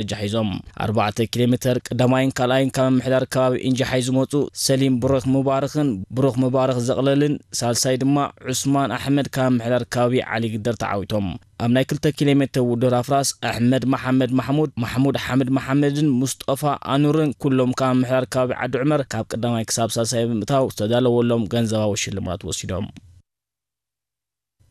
ደረጃ ሒዞም። ኣርባዕተ ኪሎ ሜተር ቀዳማይን ካልኣይን ካብ ምምሕዳር ከባቢ ኢንጃሓይ ዝመፁ ሰሊም ብሩኽ ሙባረኽን ብሩኽ ሙባረኽ ዘቕለልን፣ ሳልሳይ ድማ ዑስማን ኣሕመድ ካብ ምምሕዳር ከባቢ ዓሊ ግደር ተዓዊቶም። ኣብ ናይ ክልተ ኪሎ ሜተር ውድድር ኣፍራስ ኣሕመድ መሓመድ ማሕሙድ፣ ማሕሙድ ሓምድ መሓመድን ሙስጠፋ ኣኑርን ኩሎም ካብ ምምሕዳር ከባቢ ዓዲ ዑመር ካብ ቀዳማይ ክሳብ ሳልሳይ ብምእታው ዝተዳለወሎም ገንዘባዊ ሽልማት ወሲዶም።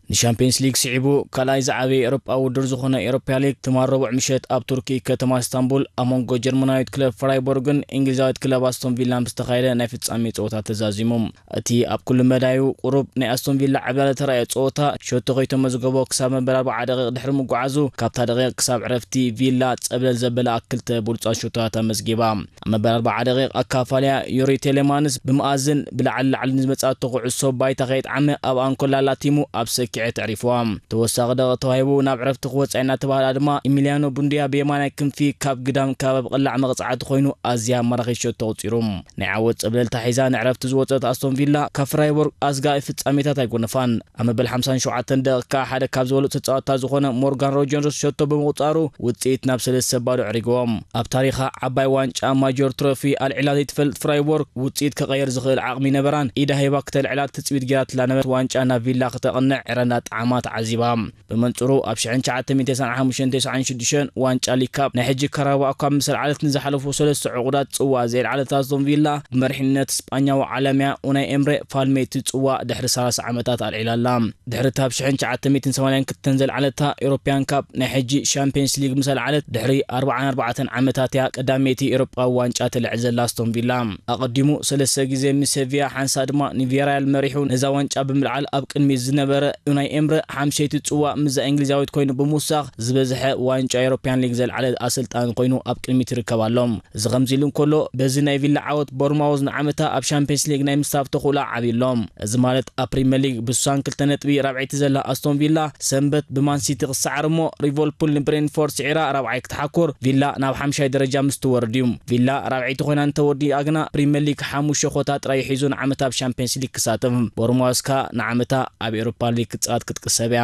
ንሻምፒየንስ ሊግ ስዒቡ ካልኣይ ዝዓበየ ኤውሮጳ ውድድር ዝኾነ ኤውሮፓ ሊግ ትማል ረቡዕ ምሸት ኣብ ቱርኪ ከተማ ኢስታንቡል ኣብ መንጎ ጀርመናዊት ክለብ ፍራይቦርግን እንግሊዛዊት ክለብ ኣስቶን ቪላን ብዝተኻየደ ናይ ፍጻሜ ጸወታ ተዛዚሙ። እቲ ኣብ ኩሉ መዳዩ ቁሩብ ናይ ኣስቶን ቪላ ዕብላል ተራእየ ጸወታ ሸቶ ከይተመዝገቦ ክሳብ መበል ኣርባዓ ደቂቕ ድሕሪ ምጉዓዙ ካብታ ደቂቕ ክሳብ ዕረፍቲ ቪላ ጸብለል ዘበላ ክልተ ብሉጻት ሸቶታት ኣመዝጊባ። ኣብ መበል ኣርባዓ ደቂቕ ኣካፋልያ ዩሪ ቴሌማንስ ብመኣዝን ብላዕሊ ላዕሊ ንዝመጻቶ ኩዕሶ ባይታ ከየጥዓመ ኣብኣ እንኮላ ላቲሙ ኣብ ሰኪዐት ኣዕሪፍዋ። ተወሳኺ ደቂቕ ተዋሂቡ ናብ ዕረፍቲ ክወጽእ እናተባህላ ድማ ኢሚልያኖ ቡንድያ ብየማናይ ክንፊ ካብ ግዳም ከባቢ ቅላዕ መቕጻዕቲ ኮይኑ ኣዝያ ማራኺት ሸቶ ኣቑጺሩ። ናይ ዓወት ጸብለልታ ሒዛ ንዕረፍቲ ዝወጸት ኣስቶን ቪላ ካብ ፍራይቦርግ ኣስጋኢ ፍጻሜታት ኣይጎነፋን። ኣብ መበል ሓምሳን ሸውዓተን ደቂቕ ሓደ ካብ ዝበለጹ ተጻወትታ ዝኾነ ሞርጋን ሮጀርስ ሸቶ ብምቑጻሩ ውጽኢት ናብ ሰለስተ ባዶ ኣዕሪግዎም። ኣብ ታሪኻ ዓባይ ዋንጫ ማጆር ትሮፊ ኣልዒላ ዘይትፈልጥ ፍራይቦርግ ውጽኢት ከቐየር ዝኽእል ዓቕሚ ነበራን ኢዳ ሂባ ክተልዕላ ትጽቢት ገይራትላ ነበረት ዋንጫ ናብ ቪላ ክተቕንዕ ዕረ እንዳጠዓማ ተዓዚባ። ብመንጽሩ ኣብ ሽሕን ትሽዓተ ሚእትን ተስዓን ሓሙሽተን ተስዓን ሽዱሽተን ዋንጫ ሊግ ካፕ ናይ ሕጂ ካራባኦ ካፕ ምስ ኣልዓለት ንዝሓለፉ ሰለስተ ዕቑዳት ጽዋእ ዘየልዓለት ኣስቶን ቪላ ብመሪሕነት ስጳኛዊ ዓላምያ ኡናይ ኤምሬ ፋልሜቲ ጽዋእ ድሕሪ ሰላሳ ዓመታት ኣልዒላ ኣላ። ድሕሪ እታ ኣብ ሽሕን ትሽዓተ ሚእትን ሰማንያን ክልተን ዘልዓለታ ኤውሮፕያን ካፕ ናይ ሕጂ ሻምፒየንስ ሊግ ምስ ኣልዓለት ድሕሪ ኣርባዓን ኣርባዕተን ዓመታት እያ ቀዳመይቲ ኤውሮጳዊ ዋንጫ ተልዕል ዘላ ኣስቶን ቪላ። ኣቐዲሙ ሰለስተ ግዜ ምስ ሴቪያ ሓንሳእ ድማ ንቪያሪያል መሪሑ ነዛ ዋንጫ ብምልዓል ኣብ ቅድሚት ዝነበረ ኡናይ ኤምረ ሓምሸይቲ ጽዋእ ምስዛ እንግሊዛዊት ኮይኑ ብምውሳኽ ዝበዝሐ ዋንጫ ኤውሮፕያን ሊግ ዘልዓለ ኣሰልጣኒ ኮይኑ ኣብ ቅድሚት ይርከብ ኣሎ። እዚ ከምዚ ኢሉ እንከሎ በዚ ናይ ቪላ ዓወት ቦርማውዝ ንዓመታ ኣብ ሻምፒየንስ ሊግ ናይ ምስታፍ ተኽእሎ ዓብዩ ኣሎ። እዚ ማለት ኣብ ፕሪምየር ሊግ ብስሳን ክልተ ነጥቢ ራብዐይቲ ዘላ ኣስቶን ቪላ ሰንበት ብማን ሲቲ ክሰዓር እሞ ሊቨርፑል ንብሬንፎርድ ስዒራ ራብዓይ ክትሓኩር ቪላ ናብ ሓምሻይ ደረጃ ምስ ትወርድ እዩ። ቪላ ራብዐይቲ ኮይና እንተወዲኣ ግና ፕሪምየር ሊግ ሓሙሽተ ኮታ ጥራይ ሒዙ ንዓመታ ኣብ ሻምፒየንስ ሊግ ክሳተፍ። ቦርማውዝ ከኣ ንዓመታ ኣብ ኤውሮፓ ሊግ ክትጻወት ክትቅሰብ እያ።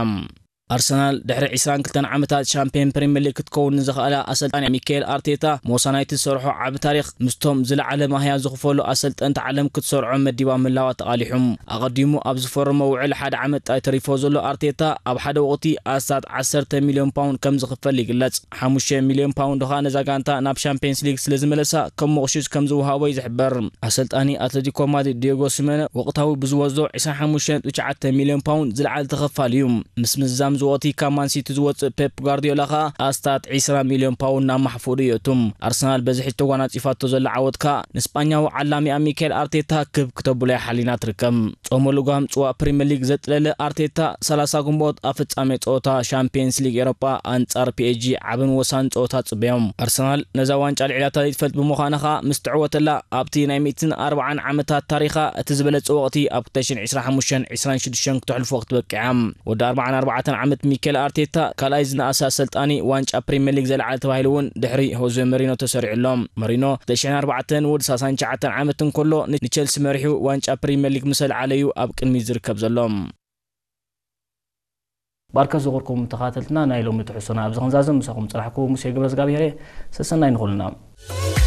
ኣርሰናል ድሕሪ ዕስራን ክልተን ዓመታት ሻምፒዮን ፕሪምየር ሊግ ክትከውን ንዝኸኣላ ኣሰልጣኒ ሚካኤል ኣርቴታ ሞሳ ናይቲ ዝሰርሖ ዓቢ ታሪኽ ምስቶም ዝለዓለ ማህያ ዝኽፈሉ ኣሰልጠንቲ ዓለም ክትሰርዖ መዲባ ምህላዋ ተቓሊሑ። ኣቐዲሙ ኣብ ዝፈረሞ ውዕል ሓደ ዓመት ጥራይ ተሪፎ ዘሎ ኣርቴታ ኣብ ሓደ ወቕቲ ኣስታት ዓሰርተ ሚልዮን ፓውንድ ከም ዝኽፈል ይግለጽ። ሓሙሽተ ሚልዮን ፓውንድ ኸኣ ነዛ ጋንታ ናብ ሻምፒየንስ ሊግ ስለ ዝመለሳ ከም መቑሽሽ ከም ዝወሃቦ እዩ ዝሕበር። ኣሰልጣኒ ኣትሌቲኮ ማድሪድ ዲዮጎ ሲሜነ ወቕታዊ ብዝወስዶ ዕስራን ሓሙሽተን ነጥቢ ትሽዓተ ሚልዮን ፓውንድ ዝለዓለ ተኸፋሊ እዩ። ምስ ምዝዛም ዝወቕቲ ካብ ማን ሲቲ ዝወጽእ ፔፕ ጓርዲዮላ ኸኣ ኣስታት ዕስራ ሚልዮን ፓውንድ ናብ ማሕፉዱ የእቱ። ኣርሰናል በዚ ሕጂ ተጓናጺፋቶ ዘላ ዓወት ከኣ ንስጳኛዊ ዓላሚኣ ሚካኤል ኣርቴታ ክብ ክተብሎ እያ ሓሊና ትርከብ። ጾመ ልጓም ጽዋእ ፕሪምየር ሊግ ዘጥለለ ኣርቴታ ሰላሳ ግንቦት ኣብ ፍጻሜ ጸወታ ሻምፒየንስ ሊግ ኤውሮጳ ኣንጻር ፒኤስጂ ዓብን ወሳን ጸወታ ጽበዮም። ኣርሰናል ነዛ ዋንጫ ልዒላታ ዘይትፈልጥ ብምዃና ኸኣ ምስ ትዕወተላ ኣብቲ ናይ ሚእትን ኣርባዓን ዓመታት ታሪኻ እቲ ዝበለጸ ወቕቲ ኣብ ክልተ ሽሕን ዕስራን ሓሙሽተን ዕስራን ሽዱሽተን ክተሕልፎ ክትበቅዕ እያ። ወዲ ኣርባዓን ኣርባዕተን ዓመት ሚኬል ኣርቴታ ካልኣይ ዝነኣሰ ኣሰልጣኒ ዋንጫ ፕሪምየር ሊግ ዘልዓለ ተባሂሉ እውን ድሕሪ ሆዜ መሪኖ ተሰሪዑ ኣሎ። መሪኖ ክልተ ሽሕን ኣርባዕተን ወዲ ሰላሳን ትሽዓተን ዓመት እንከሎ ን-፣ ንቸልሲ መሪሑ ዋንጫ ፕሪምየር ሊግ ምስ ኣልዓለ እዩ ኣብ ቅድሚት ዝርከብ ዘሎ። ባርከ ዝኽርኩም ተኻተልትና ናይ ሎሚ ትሕዝቶና ኣብዚ ክንዛዝም ምሳኹም ጽናሕኩ ሙሴ ገብረዝጋብሄር እየ። ሰሰናይ ንኹልና።